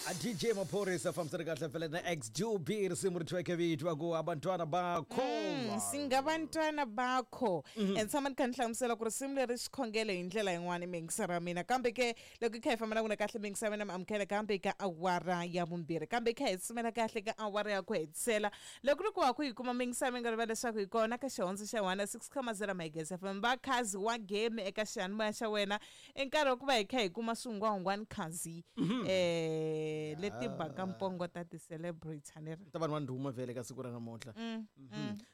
A DJ Maphorisa fambisana kahle vhele na XGB risimu ri thyiweke vito va ku abantwana bakho. Singabantwana bakho. And tshama ni kha ni hlamusela ku risimu leri xikhongelo hi ndlela yin'wana miyingiseri ya mina, kambe ke loko hi kha hi famba na n'wina kahle miyingiseri ya mina mi amukela kambe ka awara ya vumbirhi, kambe hi kha hi tsumela kahle ka awara ya ku hetisela. Loko ri ku wa ku yi kuma miyingiseri mi nga rivala leswaku hi kona ka Xihondzo xa 106.0 Magezi FM, va khazi wa game eka xiyanimoya xa wena. I nkarhi wa ku va hi kha hi kuma swingwangwani khazi leti baka mpongo ta ti-celebrity a ni ri ta vanhu va ndhuma vhele ka siku ra namuntlha.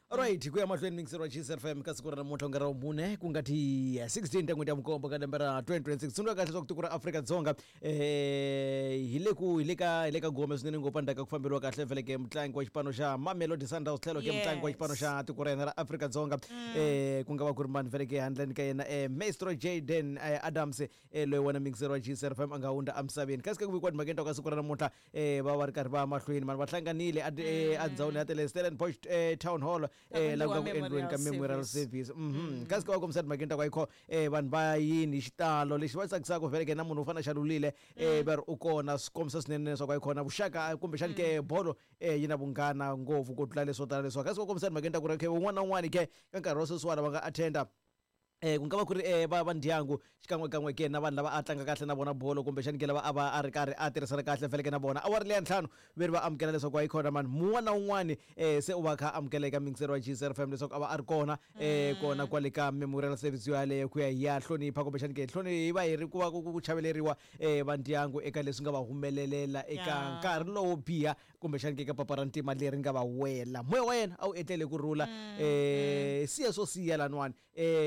Alright, ku ya mahlweni mingiseri wa Gcis FM ka siku ra namuntlha ku nga ra vumune, ku nga ti 16 ta n'hweti ya vunkombo ka lembe ra 2026. Tsundzuka kahle leswaku tiko ra Afrika-Dzonga hi le ku hi le ka hi le ka gome swinene ngopfu endzhaku ka ku famberiwa kahle vhele ke mutlangi wa xipano xa Mamelodi Sundowns tlhelo ke mutlangi wa xipano xa tiko ra hina ra Afrika-Dzonga, ku nga va ku ri mani vhele ke handleni ka yena Maestro Jayden Adams, loyi wena mingiseri wa Gcis FM a nga hundza emisaveni. Kasi ke ku vikiwa timhakeni ta ka siku ra namuntlha va va ri karhi va mahlweni mani va hlanganile endhawini ya tele Stellenbosch Town Hall, ta la ku ku endliwa nga ku endliweni ka memorial memorial service. Kasi ke va kombisa timhakeni ta ku ayikho vanhu va yini hi xitalo lexi va tsakisaka vhele ke na munhu wo fana na Xalulile, va ri u kona, swi kombisa swinene leswaku ayikhona vuxaka kumbexani ke bolo yi na vunghana ngopfu ku tlula leswo tala leswiwa. Kasi va kombisa timhakeni ta ku ri okay un'wana na un'wana ke ka nkarhi wa sweswiwani va nga attenda, ku nga va ku ri va ndyangu xikan'wekan'we ke na vanhu lava a tlanga kahle na vona bolo kumbexani ke lava a va a ri karhi a tirhisana kahle vhele ke na vona. Awara leya ntlhanu ve ri va amukela leswaku a yi khona mani mun'wana na un'wani, se u va kha amukela eka mingiseri wa Gcis FM leswaku a va a ri kona, kona kwale ka memorial service yo yaleyo ku ya hi ya hlonipha kumbexani ke hloni hi va hi ri ku va ku chaveleriwa va ndyangu eka leswi nga va humelelela eka nkarhi lowo biha kumbexani ke ka papa ra ntima leri nga va wela. Moya wa yena a wu etlele ku rhula. Siya swo siya laniwani,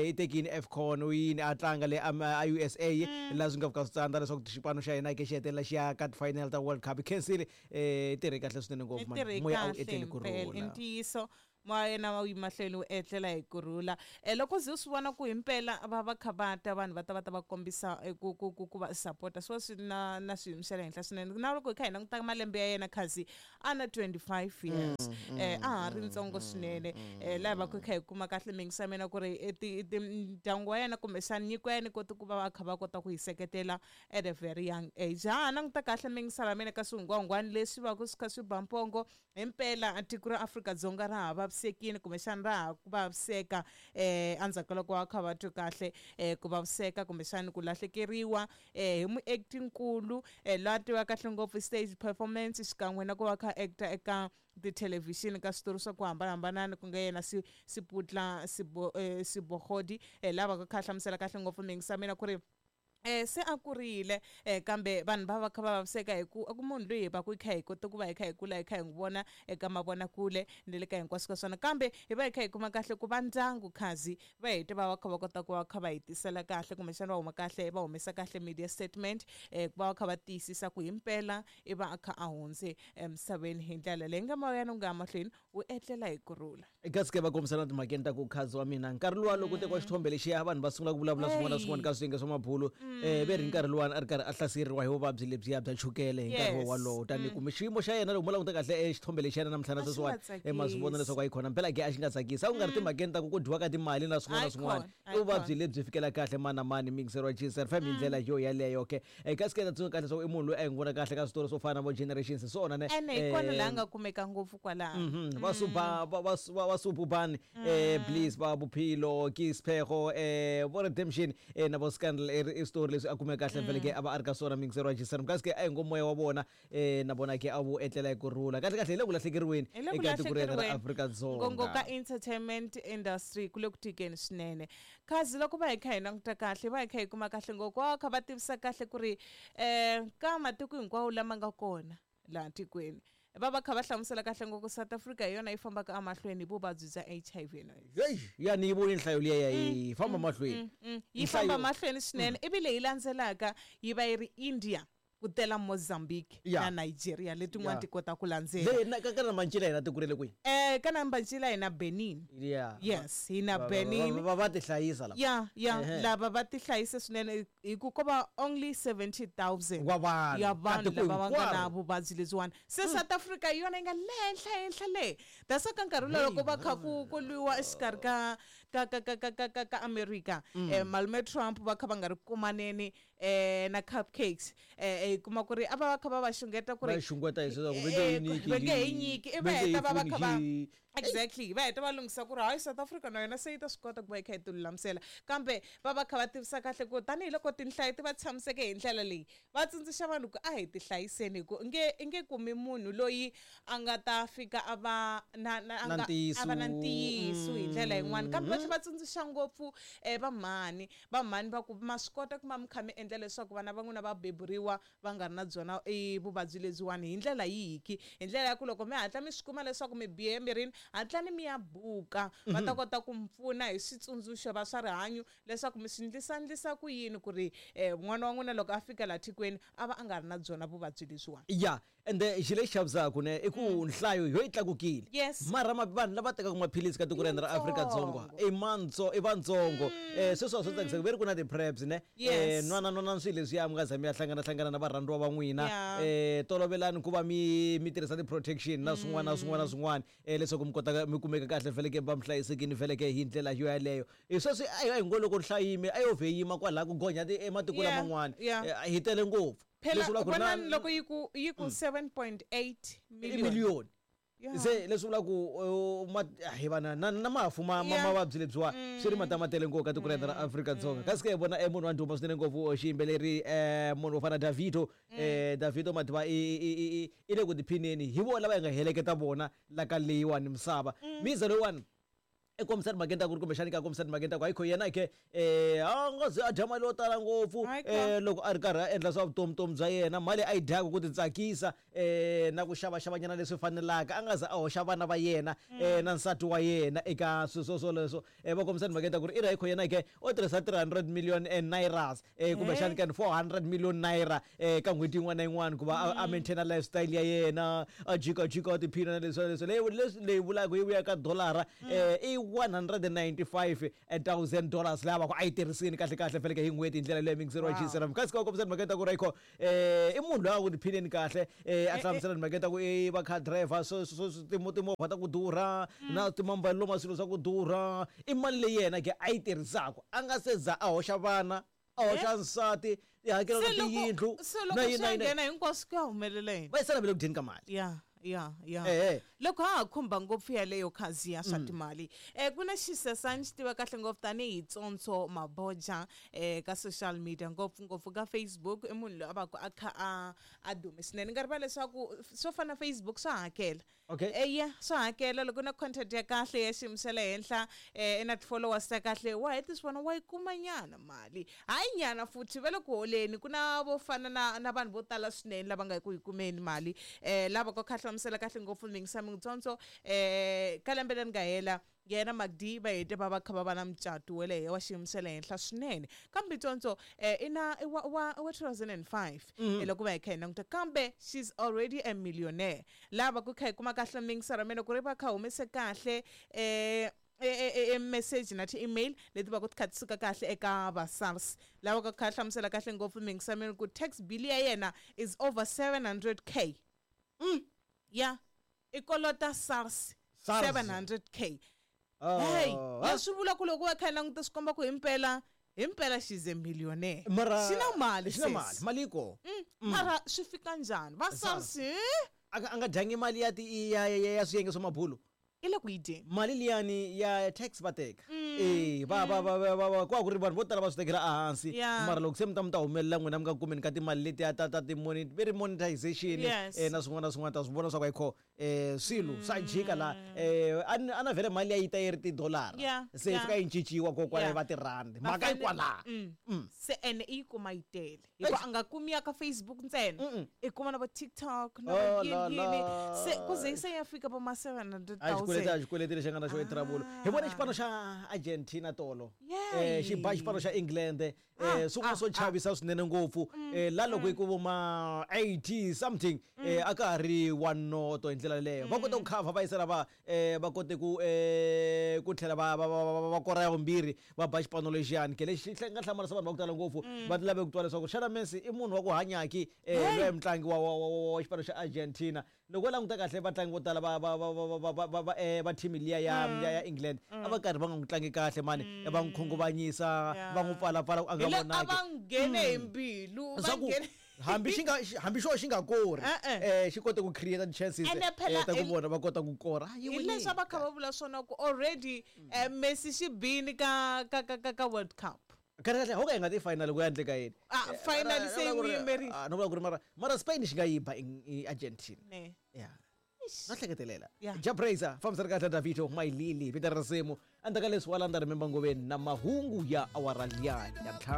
i tekini AFCON u yini a tlanga le a USA, laha swi nga fika swi tsandza leswaku xipano xa hina ke xi hetelela xi ya ka ti-final ta World Cup. Khensile, i tirhe kahle swinene ngopfu I mani, tirhe moya a wu kahle etleli ku himpela i rhula. Ntiyiso, moya yena wu yi mahlweni wu etlela hi ku rhula. Loko ze u swi vona ku himpela va va kha va ta vanhu va ta va ta va kombisa ku ku ku ku va sapota, swi va swi na na xiyimo xa le henhla swinene. Na loko hi kha hi languta malembe ya yena khazi a na 25 years, a ha ri ntsongo swinene. Laha hi va ku hi kha hi kuma kahle mingisa mina ku ri ti ndyangu wa yena kumbexana nyiko ya yena yi kote ku va va kha va kota ku yi seketela at a very young age. Ha ha languta kahle mingisa ra mina ka swihungwahungwani leswi va ku swi kha swi ba mpongo himpela tiko ra Afrika-Dzonga ra ha vavisekile kumbexana ra ha ku vaviseka, endzhaku ka loko va kha va twe kahle ku vaviseka kumbexana ku lahlekeriwa hi muacti-nkulu, loyi a tivaka kahle ngopfu stage performance xikan'we na ku va kha actor eka tithelevhixini ka switori swa ku hambanahambana, ku nga yena Siputla Sebogodi, lava kha hlamusela kahle ngopfu mingisa mina ku ri se a kurile, kambe vanhu va va kha va vaviseka hi ku ku munhu loyi hi va ku hi kha hi kota ku va hi kha hi kula hi kha hi n'wi vona eka mavonakule ni le ka hinkwaswo ka swona, kambe hi va hi kha hi kuma kahle ku va ndyangu khazi va hete va va kha va kota ku va kha va hi tisela kahle kumbexana va huma kahle va humesa kahle media statement, ku va va kha va tiyisisa ku himpela i va a kha a hundze emisaveni hi ndlela leyi nga moya wu nga ya mahlweni wu etlela hi ku rhula. Kasi ke va kombisana timhakeni ta ku khazi wa mina nkarhi luwa loko tekiwa xithombe lexiya vanhu va sungula ku vulavula swin'wana na swin'wana ka swiyenge swa mabulu, ve ri nkarhi luwani a ri karhi a hlaseriwa hi vuvabyi lebyiya bya chukele hi nkarhi wolowo, tani kumbe xiyimo xa yena loko mo languta kahle xithombe lexi yena namuntlha na A xi nga sweswiwani, ma swi vona tsakisi. leswaku a yi khona mpela ke a xi nga tsakisi, a ku nga ri timhakeni ta ku ku dyiwa ka timali na swin'wana na swin'wana, Ayikhona, i vuvabyi ayikhona. lebyi fikela kahle mani na mani mingiseri wa Gcis FM hi ndlela yo yaleyo ke. Kasi ke ta tsundzuka kahle leswaku i munhu loyi a hi n'wi vona kahle ka switori swo fana na vo Generations hi swona ne. Ene hi kona laha a nga kumeka ngopfu kwalaho. Va suba va va va va Sububani, Bliss, va Bophelo ke Sphego, vo Redemption, na vo Scandal, i switori leswi a kumeka kahle vhele ke a va a ri ka swona mingiseri wa Gcis FM. Kasi ke a hi ngo moya wa vona na vona ke a wu etlela hi ku rhula. Kahle kahle hi le ku lahlekeriweni Hi le ku eka tiko ra hina ra lahlekeriweni. Afrika-Dzonga. Ngongo ka entertainment industry ku le ku tikeni swinene. Khazi loko va hi kha hi languta kahle va hi kha hi kuma kahle ngopfu, va kha va tivisa kahle ku ri ka matiko hinkwawo lama nga kona laha tikweni va va kha va hlamusela kahle ngopfu South Africa hi yona yi fambaka emahlweni hi vuvabyi bya HIV and AIDS. Hey, ya ni yi voni nhlayo liya ya yi famba mahlweni. Yi famba mahlweni swinene, ivi leyi landzelaka yi va yi ri India, ku tela Mozambique na Nigeria letin'wana ti kota ku landzela. Le na ka ka Nambancila hina tiko ra le kwihi? Ka Nambancila hi na Benin. Yes, hi na Benin. Va ti hlayisa lava. Ya, ya, lava va ti hlayisa swinene hi ku ko va only 70,000 Wa vanhu. ya vanhu Ka tiko lava va nga na hinkwaro. vuvabyi lebyiwani. Se South Africa hi yona yi nga le henhla henhla le. That's why ka nkarhi lowu loko va kha ku ku lwiwa exikarhi ka ka ka ka ka ka ka ka America, malume Trump va kha va nga ri kumaneni. na cupcakes hi kuma ku ri a va va kha va va xungeta ku Va ri xungeta hi leswaku va nge hi nyiki va nge hi nyiki i va va nge hi heta va va pfuni kha va hi- exactly va heta va lunghisa ku ri hayi South Africa na yona se yi ta swi kota ku va yi kha yi ti lulamisela kambe va va kha va tivisa kahle ku tanihiloko tinhlayo ti va tshamiseke hi ndlela leyi va tsundzuxa vanhu ku a hi ti hlayiseni hi ku i nge kumi munhu loyi a nga ta fika a va na na a Na nga a va na ntiyiso. ntiyiso hi ndlela yin'wani kambe va tlhela va tsundzuxa ngopfu vamhani vamhani va ku ma swi kota ku va mi kha mi endla leswaku vana va n'wina va beburiwa va nga ri na byona vuvabyi lebyiwani hi ndlela yihiki hi ndlela ya ku loko mi hatla mi swi kuma leswaku mi bihe emirini hatlani mi ya buka va ta kota ku mi pfuna hi switsundzuxo va swa rihanyo leswaku mi swi ndlisa ku yini ku ri n'wana wa n'wina loko a fika laha tikweni a va a nga ri na byona vuvabyi lebyiwani. Ya, ende xilo lexi chavisaku ne i ku nhlayo yo yi tlakukile. Yes. Mara vanhu lava tekaka maphilisi ka tiko ra hina ra Afrika-Dzonga Yitsongo. i i vantsongo. Sweswo a swi tsakisaka ve ri ku na ti-preps ne. Yes. Nwana nwana swilo leswiya mi nga za mi ya hlangana hlangana na varhandziwa va n'wina. Yeah. Tolovelani ku va mi tirhisa ti-protection na swin'wana na swin'wana na swin'wana leswaku mi kota mi kumeka kahle feleke va mi hlayisekini feleke hi ndlela yo yaleyo. Sweswi a hi ngo loko nhlayo yime a yo vhe yima kwalaha ku gonya ematiko Yeah, laman'wana. yeah. Hi tele ngopfu. Phela Leswi vulaka ku ri na- vonani loko yi ku 7.8 i million. million. Yeah. Se leswi vulaka ku hi vana na mafu ma Yeah. mavabyi lebyiwa swi ri matamatele ngopfu ka tiko ra hina ra Afrika-Dzonga. Kasi ke hi vona munhu wa ndhuma swinene ngopfu xiyimbeleri munhu wo fana na Davido. Davido Madiba i le ku tiphineni hi vona lava hi nga heleketa vona la ka leyiwani misava. Miza loyiwani i kombisa timhakeni ta ku ri kumbexani ka kombisa timhakeni ta ku hayikho yena ke a nga ze a dya mali yo tala ngopfu Hayi ka. loko a ri karhi a endla swa vutomi bya yena mali a yi dyaka ku titsakisa na ku xavaxavanyana leswi fanelaka a nga ze a hoxa vana va yena na nsati wa yena eka swilo swoleswo. Va kombisa timhakeni ta ku ri i ri hayikho yena ke u tirhisa 300 million nairas kumbexani ka 400 million naira ka n'hweti yin'wana na yin'wana ku va a maintaina lifestyle ya yena a jikajika a tiphina na leswi na leswi. Leyi leyi vulaka yi vuya ka dollara i $195,000 leyi a va ku a yi tirhisini kahle kahle feleke hi n'hweti hi ndlela leyi mingiseriwa Wow. GCRM. Kasi ka kombisa timhaka ta ku ri ayikho i munhu loyi a ku tiphineni kahle a hlamusela timhaka ta ku i va car driver so timovha ta ku durha na timambalelo ma swilo swa ku durha i mali leyi yena ke a yi tirhisaka a nga se za a hoxa vana a hoxa nsati tihakelo ta Se loko tiyindlu se loko na yini swi na ya yini. nghena hinkwaswo ku ya humelela yini? Va yisela ve le ku dyeni ka mali. Yeah, yeah, yeah. Loko ha ha khumba ngopfu yaleyo khazi ya swa timali ku na xisesani xi tiva kahle ngopfu tanihi Tsontsho Maboja ka social media ngopfungopfu ka Facebook i munhu loyi a va ku a kha a dume swinene ni nga rivala leswaku swo fana na Facebook swa hakela. Okay. Yeah, swa hakela loko na content ya kahle ya xiyimo xa le henhla i na ti-followers ta kahle wa heti swi vona wa yi kuma nyana mali hayi nyana futhi va le ku holeni ku na vo fana na vanhu vo tala swinene lava nga ku yi kumeni mali lava ku kha hlamusela kahle ngopfu mingisa Tsontsho ka lembe leri nga hela yena Magdi va hete va va kha va va na mucato wa le wa xiyimo xa le henhla swinene kambe Tsontsho i na i wa 2005 loko va hi kha hi languta kambe she's already a millionaire lava ku kha hi kuma kahle mingisa ra mina ku ri va kha humese kahle message na ti-email leti va ku ti kha ti suka kahle eka va SARS lava ku kha hlamusela kahle ngopfu mingisa mina ku tax bill ya yena is over 700k. Yeah, i kolota SARS SARS. 700k. Oh. Hey, leswi vula ku loko va kha hi languta swi komba ku himpela she's a millionaire. Mara xi na mali xi na sis. mali mali yi kona. Mara swi fika njhani va SARS A nga dyangi mali ya ya swiyenge swa mabulo. I le ku yi dyeni. Mali liyani ya tax va teka. Va va va va va ku va ku ri vanhu vo tala va swi tekela ehansi. Yeah. Mara loko se mi ta mi ta humelela n'wina mi nga kumeni ka timali letiya ta ti ve ri monetization Yes. na swin'wana na swin'wana ta swi vona swa ku ayikho swilo swa jika laha a na vhele mali ya yi ta yi ri tidolara. Yeah, Se yi yeah. fika yi cinciwa kokwala Yeah. yi va tirhandi. Mhaka yi kwalaha. Se ene i yi kuma yi tele hikuva a nga kumi ya ka Facebook ntsena i kuma na vo TikTok na Oh, vo la, yini yini la. se ku ze se ya fika vo ma A xikweleti 700,000. a xikweleti lexi nga na xo i trouble. Hi vone xipano xa Argentina tolo. Yay. Xi ba xipano xa England swin'wana swo chavisa swinene ngopfu la loko yi ku vo ma 80 something a ka ha ri one noto hi ndlela leyo. Va kote ku cover va yisela va va kote ku ku tlhela va kora ya vumbirhi va ba xipano lexiyani ke lexi nga hlamarisa vanhu va ku tala ngopfu va lave ku twa leswaku xana Messi i munhu wa ku hanyaki loyi mutlangi wa xipano xa Argentina. Loko u languta kahle vatlangi vo tala va team liya ya England a va karhi va nga n'wi tlangi kahle mani va n'wi khunguvanyisa Yeah. va n'wi pfalapfala a nga nga Hi le a vonaki. Va nghene hi mbilu, va Swa ku nghene. Hambi xi nga hambi xo xi nga kori, E-e. xi kote ku create chances Ene phela ta ku vona va kota ku kora. Ah, yi Hi leswi a va kha winile. Va vula swona ku already Messi xi bini ka World Cup. Kahle kahle ho ka hi nga ti final ku ya endleka yini? Ah, final se yi n'wi yimerile. Ah, no vula ku ri mara Spain xi nga yi ba i Argentina. Ne. Yeah, no hleketelela. Yeah. Jabrazer fambisani kahle, Davito Mailili vito ra risimu. Endzhaku ka leswi wa landza Remember Ngoveni na mahungu ya awara liya ya 5.